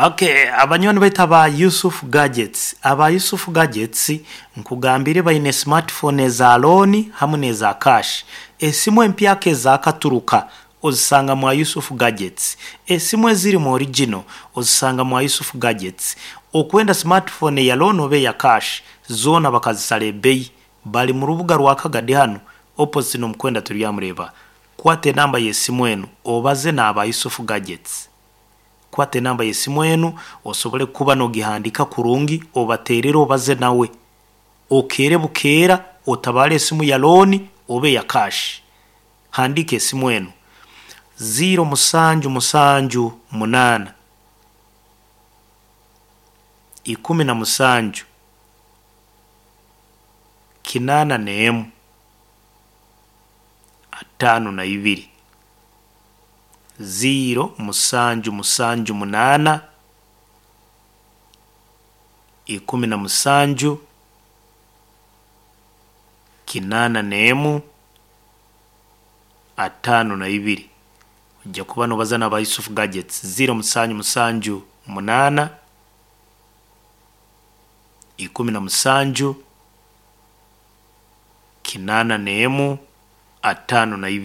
Okay, abanywani baitu aba Yusuf Gadgets. Aba Yusuf Gadgets nkugambire baine smartphone eza loan hamu n'eza cash. Esimu empyaka ezakaturuka ozisanga mwa Yusuf Gadgets. Esimu ezirimu original ozisanga mwa Yusuf Gadgets. Okwenda smartphone eya loan oba eya cash zoona bakazisara ebeyi. Bari mu rubuga rwa Kagadi hanu opposite n'omukwenda Turyamureeba. Kwata enamba y'esimu enu obaze n'aba Yusuf Gadgets. Kwata enamba y'esimu enu osobole kuba nogihandika kurungi obaterere obaze nawe. Okeere bukeera otabaare esimu ya looni oba eya cash. Handiika esimu enu, ziiro musanju musanju munaana, 17, 81, 52. Ziiro musanju musanju munaana, 17, 81, 52. Oija kuba nobaza n'aba Yusuf Gadgets, ziiro musanju musanju munaana, 17, 81, 52.